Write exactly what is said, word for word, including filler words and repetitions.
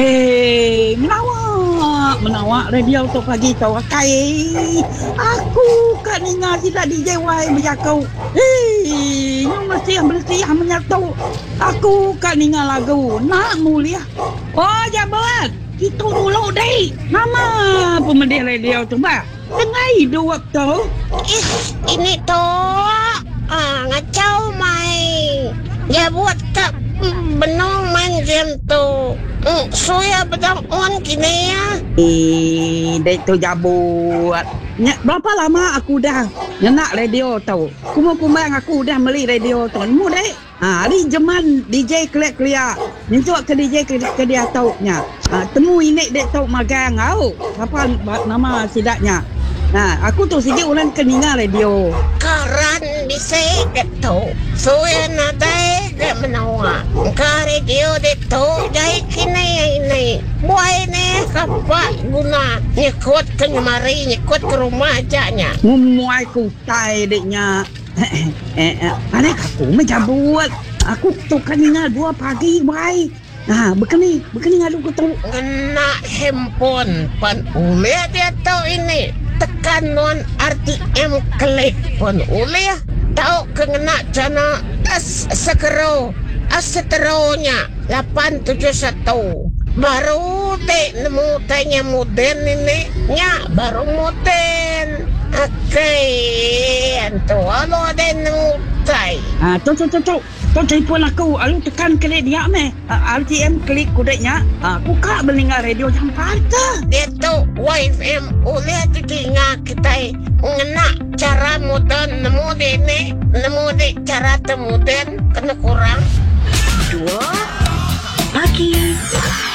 Hei, menawa, menawa radio tu pagi tu akai. Aku ka ninga sida D J Y bejaku. Hei, nyu mesih bersih menyatu. Aku ka ninga lagu nak mulia. Oh, jabat. Itu dulu dek. Nama pemedih radio tu ba? Tengah hidup tu. Is, ini tu. Ah, ngacau mai. Jabut tak benong main game tu. Mm, suya bedang on kini ya. Eh, dek tu jabut. Nya, berapa lama aku dah ngenak radio tu. Kumang-kumang aku dah beli radio tu. Nemu dek. Ha, hari zaman D J kelia-kelia. Nyentuk ke D J ke, ke dia tau nya. Ha, temu ini dek tau magang au. Apa nama sidaknya? Ha, aku tu sigi orang ke ninga radio. Karan bisa dek tu. Suya nadai dek menawa. Ka radio dek tu jai kini ini. Buai ni kapak guna nyekut ke nyemari nyekut ke rumah aja nya. Ngumuai kutai deknya. Eh, eh, anak aku mencabut. Aku tu kan ninga dua pagi buai. Ha, bekeni, bekeni ngadu ku tu. Ngena handphone pan ulih dia tu ini. Tekan non R T M klik pun ulih. Tau ke ngena channel S sekero, S seteronya lapan tujuh satu. Baru dek nemu tanya moden ini. Nya baru moden. Okey, antu alo ada nemu tai. Ah, tu tu tu tu. Tu telefon aku, alu tekan klik dia meh. Ah, R T M klik kudeknya. Ah, buka belinga radio jam empat. Dia tu Y F M oleh tu tinggal kita ngena cara moden nemu de ni, nemu de cara temoden kena kurang. Dua pagi.